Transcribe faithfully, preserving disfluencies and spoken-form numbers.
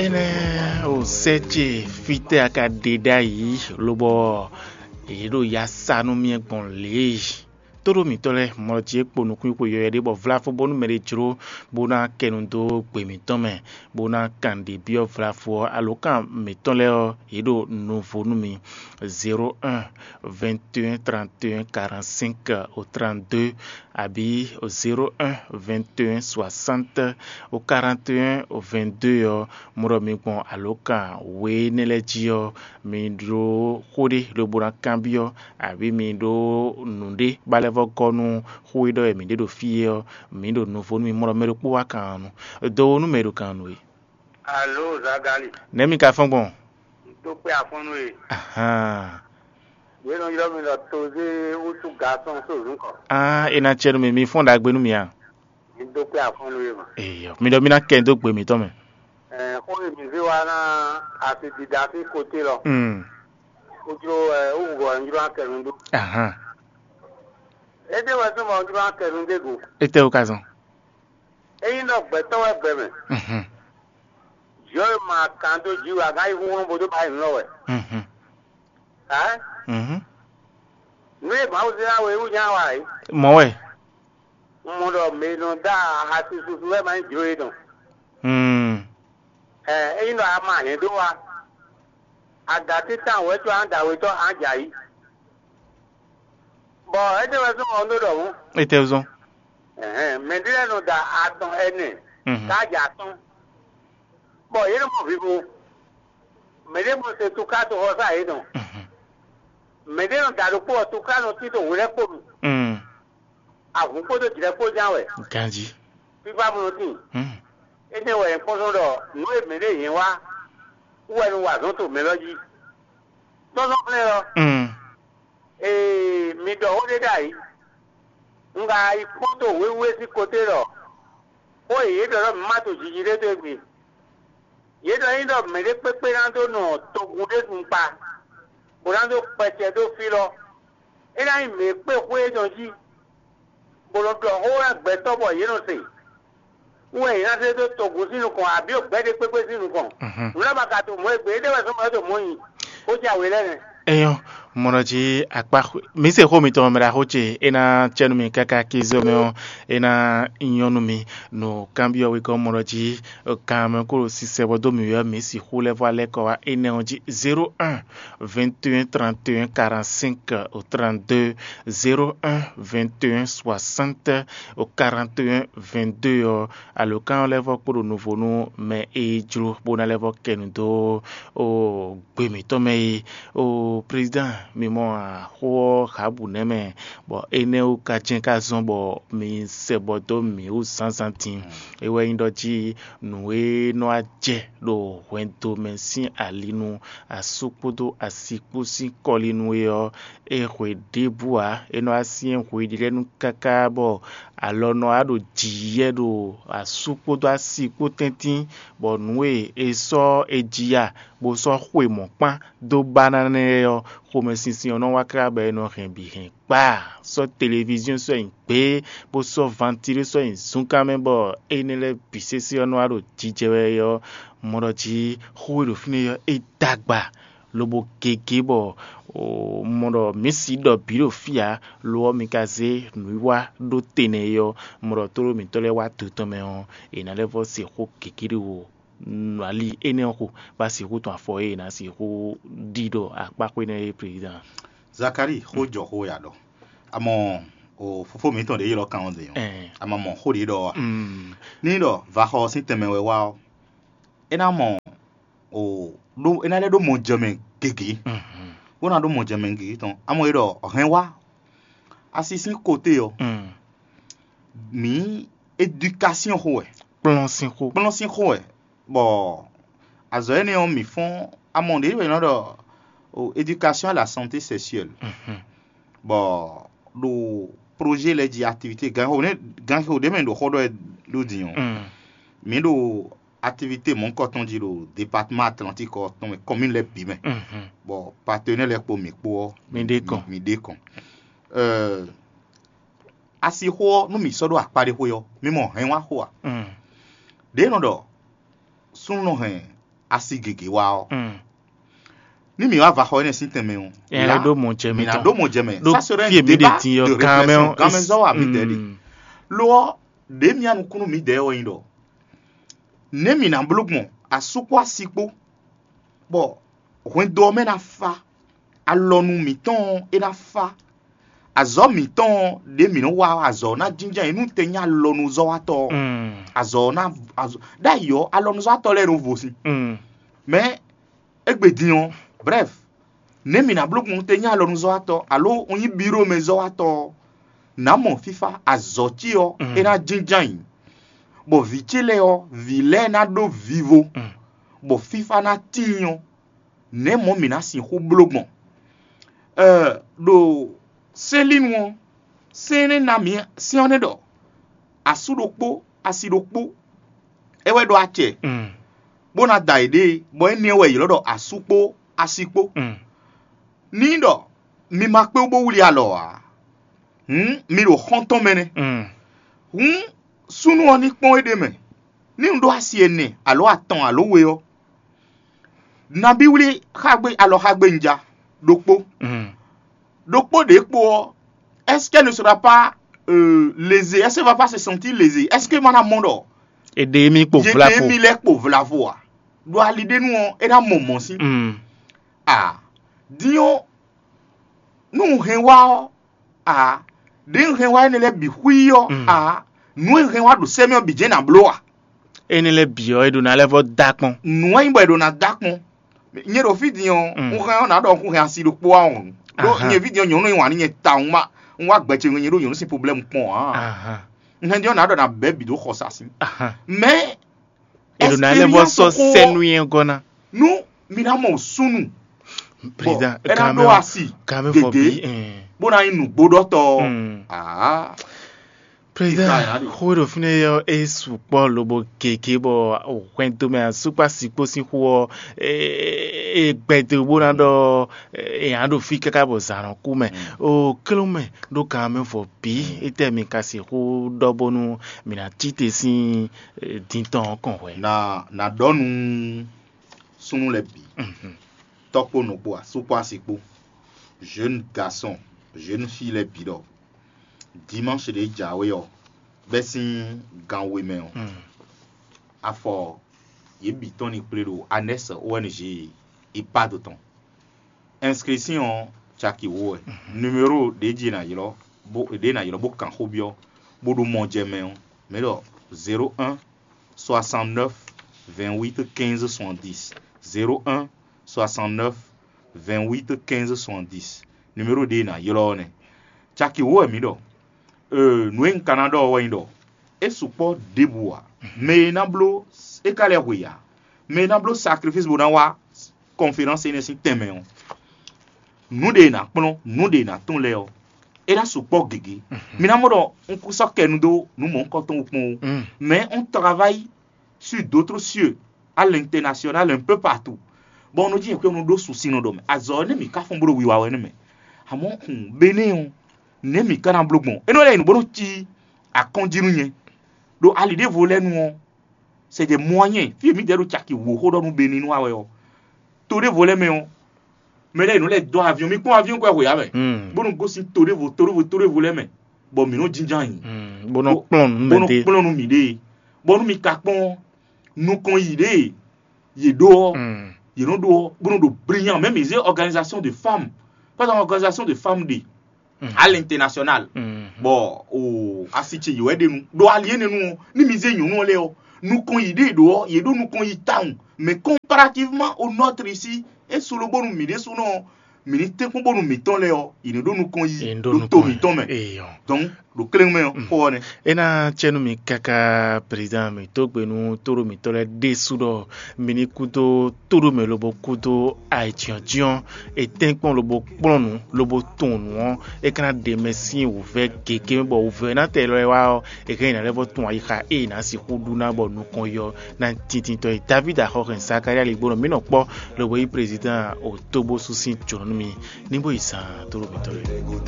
Énɛ́ o sɛ́ ce fítɛ́ a ka ɖe ɖ'ayǐ, lobɔ yě ɖo ya sa nú mì gbɔn lě e tóɖó mǐtɔn lɛ́ɛ mɔ jí é kpo nukúnxwe yɔywɛ ɖé bɔ vláfó bónú mɛ ɖé jló bó ná kɛ nu dó gbe mǐtɔn mɛ, bó ná kan nǔɖé byɔ́ vláfó ɔ́, alǒkan mǐtɔn lɛ́ɛ ɔ́, yě ɖo nuvo nú mi. Zéro un, vingt et un, trente et un, quarante-cinq au trente-deux, abǐ zéro un, vingt et un, soixante au quarante et un, vingt-deux ɔ́, mɔ ɖɔ mi gbɔn alǒkan we énɛ́ lɛ́ɛ jí ɔ́, mi ɖó xó ɖé lobo ná kanbyɔ́, abǐ mi ɖó nǔɖé ba lɛ́ vɔ́ gɔ́ nú xó e ɖɔ wɛ mǐ ɖe ɖo fí é ɔ́, mǐ ɖo nuvo nú mi. Mɔ ɖɔ mɛ ɖokpó wá kan nu, do nú mɛ e ɖo kan nu é. Alo Zagali, Nɛ̌ mi ka fɔ́n gbɔn? Tó kpé afɔ́nú e. Ahan. Yě nɔ ylɔ́ mi ɖɔ tozé wútu gasɔn só nǔkɔ. Ah, é ná cɛ nú mi, mi fɔ́n ɖagbe nú mi a? Mi dó kpé afɔ́nú e mɔ. Eyɔ, mi ɖɔ mi ná kɛ dó gbe mǐtɔn mɛ. Ɛ xó e mi zé wa ná asi dida sín kote lɔ. Mm. Wútu ɛ wútu gɔ ylɔ́ akɛnu dó. Ahan. Étɛ́ wɛ súnmɔ ylɔ́ akɛnu dé go. Étɛ́ wú ka zɔn? Ényí ɖɔ gbɛtɔ́ wɛ gbɛ mɛ, Mhm. Yɔ e ma kan dó jǐ wɛ a ka yi xúxú bó dó ba yi nǔ lɔ wɛ. Mhm. Ɛ? Mhm. Nú e Mawu zé ná we wú nyá wa é. Mɔ̌ wɛ. Un mɔ ɖɔ mɛ e nɔ dó ahasi susu wɛ ma nyí jló é nɔ. Mm. Ɛ ényí ɖɔ a ma hɛn dó wa, a da títàn wɛ có a da wetɔ́ a jǎ yi. Bɔ étɛ́ wɛ zɔ́n ɔ́ ɖó ɖɔhun. Étɛ́ zɔ́n? Ɛhɛn, mɛ ɖé lɛ́ɛ nɔ da atɔn ɛnɛ, Mhm. Ká jɛ atɔ́n. Bɔ yě nɔ mɔ vivo. Mɛ ɖé mɔ se túká toxɔsá yě nɔ. Mhm. Mɛ ɖé nɔ da ɖokpó ɔ́ túká nɔ tito hwelɛ́kpo nu. Mm. Ahun kpódó jlɛ̌ kpó ján wɛ. Ganjí. Fífá mɔ tín. Mm. Énɛ́ wɛ nyɛ kpɔ́n sɔ́ ɖɔ nǔ e mɛ ɖé yě wá wú wɛ nɔ wa azɔ̌ to mɛ lɔ jí. Tɔ́sɔ́ flɛ́ lɔ. Mm. Ee, mi ɖɔ xó ɖé ɖ'ayǐ. Un ka yi kpɔ́n to wěwé sín koté ɖɔ xó e yě ɖɔ ɖɔ mǐ ma to jiji ɖé dó égbé. Yě ɖɔ ényí ɖɔ mɛɖé kpékpé ná dó nɔ togun ɖé nu kpa, bó ná dó kpɛcɛ dó fí lɔ, é ná nyí mǐ e kpé xwé énɛ́ jí, bó nɔ ɖɔ xó wɛ gbɛtɔ́ bɔ yě nɔ se. Wú wɛ yě ná zé dó togun sín nukɔn, abǐ ɖo gbɛ́ ɖé kpékpé sín nukɔn. Mhm. Nǔ lɛ́ɛ ma ka to mɔ̌ e gbe, éɖée wɛ zɔ́n bɔ é ɖo mɔ̌ nyi, bó jɛ awě lɛ́ɛ nɛ́. Eyɔn, mɔ ɖɔ jí akpa xwe- mǐ se xó mitɔn mɛ ɖaxó ce, é ná cɛ nú mi káká kí zɔ́ mɛ ɔ́, é ná nyɔ́ nú mi. Nǔ kanbyɔ́ wegɔ́ mɔ ɖɔ jí kan mɛ kó ɖo sisɛ bɔ dó mǐ wɛ mǐ sixú lɛ́ vɔ alɛ́ kɔ wá énɛ́ ɔ́ jí: zéro un, vingt et un, trente et un, quarante-cinq au trente-deux, zéro un, vingt et un, soixante au quarante et un, vingt-deux ɔ́, alǒkan ɔ́ lɛ́ vɔ́ kpo ɖo nuvo nú mɛ e jló bó ná lɛ́ vɔ́ kɛ nu dó o gbe mǐtɔn mɛ é. O prezidán, mi mɔ axó ɔ́ Xabu nɛ́ mɛ, bɔ énɛ́ wú ka jɛ́n ká zɔ́n bɔ mi sɛ bɔ dó mǐ wú zǎnzǎn din. É wɛ nyí ɖɔ jí nǔ e nɔ wá jɛ ɖo hwɛndo mɛ sín ali nu asú kpódó asi kpó sín kɔlinu é ɔ́, é hwe ɖěbǔ ǎ. É nɔ wá syɛ́n hweɖíɖɛ́nú káká bɔ alɔ nɔ wá ɖo jǐyɛ́ ɖo asú kpódó asi kpó tɛ́ntin, bɔ nǔ e è sɔ́ è ji ya bó sɔ́ xwe mɔ̌ kpán dó ba ná nɛ́ ɔ́, xomɛsinsin ɔ́ nɔ wá tlá bɔ è nɔ hɛn bǐ hɛn kpá. Sɔ́ televíziɔ́n sɔ́ nyi gbě, bó sɔ́ vantilé sɔ́ nyi zunkan mɛ, bɔ énɛ́ lɛ́ɛ bǐ sésé ɔ́ nɔ wá ɖo jijɛ wɛ ɔ́, mɔ ɖɔ jí xó e ɖo fínɛ́ ɔ́, é dó agba lobo gěgé bɔ mɔ ɖɔ mǐ sixú ɖɔ bǐ ɖo fí ǎ, lo ɔ́, mi ka zé nǔwiwa ɖó te nɛ́ é ɔ́, mɔ ɖɔ tlóló mǐtɔn lɛ́ɛ wá do tɔn mɛ ɔ́, è nǎ lɛ́ vɔ́ se xó gěgé ɖé wo. Ali énɛ́ ɔ́ xo, bá sixú tɔn afɔ e è nǎ sixú ɖi ɖɔ akpáxwé nɛ́ é, prezidán. Zakalíi, xó jɔ xó ya ɖɔ. Amɔ o fofó mǐtɔn ɖě ylɔ́ kan ɔ́ zɛ nyɔ́. Ɛɛ. Amɔ mɔ xó ɖě ɖɔ wa. Mm. Ní ɖɔ vaxɔ ɔ́ sín tɛnmɛ wɛ wá ɔ́, é ná mɔ o ɖó é ná lɛ́ ɖó mɔ jɛ mɛ gěgé. Mhm. Bó ná ɖó mɔ jɛ mɛ gěgé tɔn. Amɔ é ɖɔ hɛn wá asi sín kote ɔ́, Mm. mǐ éducation xo wɛ. Kplɔ́n sín xó. Kplɔ́n sín xó wɛ. Bɔ azɔ̌ énɛ́ ɔ́, mǐ fɔ́n amɔ ɖě wɛ è nɔ ɖɔ o éducation à la santé sexuelle. Mhm. Bɔ ɖo projet lɛ́ɛ jí activité ganxixo nɛ ganxixo ɖě mɛ ɖo xó ɖɔ wɛ ɖó din ɔ́, Mm. mǐ ɖo activité mɔ̌hunkɔtɔn jí ɖo département Atlantique ɔ́ tɔn mɛ, commune lɛ́ɛ bǐ mɛ. Mhm. Bɔ partenaire lɛ́ɛ kpó mǐ kpó ɔ́, Mi ɖe kɔn. Mi ɖe kɔn. Euh, asixo ɔ́, nú mǐ sɔ́ ɖó akpá ɖé xwé ɔ́, mi mɔ hɛn wá xo a? Mm. Ɖě nɔ ɖɔ súnnu nɔ hɛn asi gěgé wá ɔ́, ní mǐ wá va xɔ énɛ́ sín tɛnmɛ ɔ́, ɛ lɛ ɖó mɔ jɛ mǐ mɛ ná tɔn ɖó mɔ jɛ mɛ. Ɖó Ça serait fí un èmi ɖe débat din ɔ́ de kan mɛ réflexion ɔ́, gan mɛ zɔ́ wa mǐdɛɛ ɖe. Lo ɔ́, ɖě mì nukúnnú mǐdɛɛ wɛ nyí ɖɔ nɛ̌ mǐ ná bló gbɔn asú kpó asi kpó, bɔ hwɛndo ɔ́ mɛ ná fá, alɔnu mǐtɔn ɔ́ é ná fá, azɔ̌ mǐtɔn ɔ́ ɖě mǐ nɔ́ wa ɔ́, azɔ̌ ɔ́ ná jínjɔ́n ayǐ nú te nyí alɔnuzɔ́watɔ́ ɔ́. Azɔ̌ ɔ́ ná azɔ̌ ɖ'ayǐ ɔ́, alɔnuzɔ́watɔ́ lɛ́ɛ nɔ vo sin. Mɛ égbé din ɔ́, brɛ́f, nɛ̌ mǐ ná bló gbɔn te nyí alɔnuzɔ́watɔ́ alo un nyí bíɖomɛzɔ́watɔ́ ɔ́, nǎ mɔ fífá, azɔ̌ ce ɔ́ é ná jínjɔ́n ayǐ, bɔ vǐ ce lɛ́ɛ ɔ́, vǐ lɛ́ɛ ná ɖó vivo, bɔ fífá ná tíin ɔ́, nɛ̌ mɔ̌ mǐ ná sixú bló gbɔn? Ɛ, ɖo sɛ́nlínu ɔ́, sɛ́n énɛ́ ná mǐ sɛ́n ɔ́ nɛ́ ɖɔ asú ɖokpó, asi ɖokpó, é wɛ ɖó acɛ, bó ná da yěɖée, bɔ énɛ́ wɛ è ylɔ́ ɖɔ asú kpó asi kpó. Ní ɖɔ mi ma kpé wú bó wlí alɔ ǎ, hǔn mi ɖo xɔ́ntɔn mɛ nɛ́. Hǔn súnnu ɔ́ ní kpɔ́n éɖée mɛ, ní un ɖó asi ɛnɛ alo atɔn alo we ɔ́, nabí wlí xágbé alɔxágbé un ja ɖokpó. Ɖokpó ɖě kpo ɔ́, est-ce qu'elle ne sera pas euh, lésée? Est-ce qu'elle va pas se sentir lésée? Est-ce que ma ná mɔ ɖɔ Èdè mi kpo yě ɖe vlavo. Mi lɛ́ kpo vlavo a? Ɖo ali ɖé nu ɔ́, é ná mɔ mɔ̌ sín. Mm. A din ɔ́, nú un hɛn wá ɔ́, a ɖě un hɛn wá énɛ́ lɛ́ɛ bǐ xwí ɔ́, a nǔ e un hɛn wá ɖo sɛ́ mɛ ɔ́ bǐ jɛ́n nǎ bló a? Énɛ́ lɛ́ɛ bǐ ɔ́, é ɖó ná lɛ́ vɔ́ dó akpɔ́n. Nǔ e nyí bɔ è ɖo ná dó akpɔ́n. Nyɛ ɖo fí din ɔ́, un hɛn ɔ́ nǎ ɖɔ un kún hɛn asi ɖokpó wá ɔ́. Ɖó nyɛ ví din ɔ́, nyɔ̌nu e wǎn nú nyɛ tawun má, un wá gbɛ ce nyɛ ɖó nyɔ̌nu sín problème kpɔ́n ǎ. Un hɛn din ɔ́ nǎ ɖɔ ná bɛ̌ bǐ ɖó xɔsa sín. Mɛ È ɖo ná lɛ́ vɔ sɔ́ sɛ́nú nyɛ gɔ́ ná. Nú mi ná mɔ súnnu, Président, é ná ɖó asi gěgé, bó ná nyí nǔgbóɖɔtɔ́ ɔ́. Aa. Président, xó e ɖo fínɛ́ ɔ́, é sukpɔ́ lobo gěgé bɔ hwɛndo mɛ asúkpá sǐkpó sín xó ɔ́, é gbɛdo bó ná ɖɔ è nǎ ɖo fí káká bɔ zǎn nɔ kú mɛ. O klɔ́ mɛ ɖó gan mɛ vɔ bǐ, étɛ́ mi ka sixú ɖɔ bónú mǐ ná cí te sín din tɔn ɔ́ kɔn hwɛ̌? Na na ɖɔ nú súnnu lɛ́ɛ bǐ, tɔ́ kpó nɔ kpó, asú kpó asi kpó, jeune garçon, jeune fille lɛ́ɛ bǐ ɖɔ dimanche ɖě jǎwe ɔ́, bɛ́ sín gan we mɛ ɔ́, afɔ yě bǐ tɔn ní kplé ɖo Anɛs O N G IPAD tɔn. Inscription ɔ́ caki wǒ wɛ. Numéro ɖě jí è nǎ ylɔ́, bó ɖě è nǎ ylɔ́ bó kan xó byɔ́, bó ɖo mɔ jɛ mɛ ɔ́, mǐ ɖɔ zéro un soixante neuf vingt huit quinze soixante dix, zéro un soixante neuf vingt huit quinze soixante dix. Numéro ɖě è nǎ ylɔ́ ɔ́ nɛ́. Caki wǒ wɛ mǐ ɖɔ. Nǔ e un ka ná ɖɔ ɔ́ wɛ nyí ɖɔ é sukpɔ́ ɖěbǔ ǎ. Mɛ e ná bló é ka lɛ́ hwe ǎ. Mɛ e ná bló sakrifísi bó ná wá kɔnferánsi énɛ́ sín tɛnmɛ ɔ́, nǔ ɖe è nǎ kplɔ́n, nǔ ɖe è nǎ tɔ́n lɛ́ɛ ɔ́, é ná sukpɔ́ gěgé. Mi ná mɔ ɖɔ un kún sɔ́ kɛ nu dó nǔ mɔ̌hunkɔtɔn kpɔ́n ó. Mais on travaille sur d'autres cieux, à l'international, un peu partout. Bɔ un nɔ jí nyɛ xwé un nɔ ɖó susi nɔ ɖɔ mɛ. Azɔ̌ ɔ́, nɛ́ mǐ ka fɔ́n bó ɖo wiwa wɛ nú mɛ. Amɔ̌ hun Benɛ́ɛ ɔ́, nɛ̌ mǐ ka ná bló gbɔn? É nɔ lɛ́ nyǐ bó nɔ cí akɔ́njí nú nyɛ. Ɖo ali ɖěvo lɛ́ɛ nu ɔ́, c'est des moyens. Fí e mǐdɛɛ ɖo caki wǒ xó ɖɔ nú Benɛ́ nú wa wɛ ɔ́, to ɖěvo lɛ́ɛ mɛ ɔ́, mɛ lɛ́ɛ nǔ lɛ́ɛ dó aviɔn. Mi kpɔ́n aviɔn kɔ hwe ǎ mɛ, bónú gosín to ɖěvo to ɖěvo to ɖěvo lɛ́ɛ mɛ, bɔ mǐ nɔ jínjɔ́n ayǐ, bó nɔ kplɔ́n nú bó nɔ mɛɖé. Kplɔ́n nú mǐɖée, bɔnú mi ka kpɔ́n nukɔn yi ɖě yě ɖó ɔ́, yě nɔ ɖó ɔ́, bó nɔ ɖo brinyan. Mɛ mi zé organisation de femmes, par exemple organisation de femmes ɖe à l'international, bɔ o asi ce yě wɛ ɖe nu ɖo ali énɛ́ nu ɔ́, ní mi zé nyɔ̌nu ɔ́ lɛ́ɛ ɔ́, nukɔn yi ɖě ɖó ɔ́, yě ɖó nukɔn yi tawun. Mais comparativement au nôtre ici, é su lobónu mǐ ɖésúnɔ ɔ́, mǐ ní tɛ́nkpɔ́n bónú mǐtɔn lɛ́ɛ ɔ́, yě ní ɖó nukɔn yi ɖó to mǐtɔn mɛ. Donc ɖo kléŋ mɛ ɔ́, xó ɔ́ nɛ́. É ná cɛ nú mi káká, président, mi tó gbe nú tóɖó mǐtɔn lɛ́ɛ ɖésú ɖɔ mi ní kúdó tóɖó mɛ lobo kúdó ayǐjínjɔ́n, è tɛ́nkpɔ́n lobo kplɔ́n nǔ lobo tunwun nǔ ɔ́, é ka ná ɖe mɛ sín wǔvɛ́ gěgé, bɔ wǔvɛ́nátɔ́ élɔ́ e wá ɔ́, è hɛn nyi ná lɛ́ vɔ tunwun ayixa e è nǎ sixú ɖu ná bɔ nukɔn yi ɔ́ ná nyí tintintɔ́ e. David Axɔxɛn Zakalía Ligbónɔ mǐ nɔ kpɔ́ lobo yí président o tóbósú sín jǒnɔ nú mi ní bó yi zan tóɖó mǐtɔn lɛ́ɛ.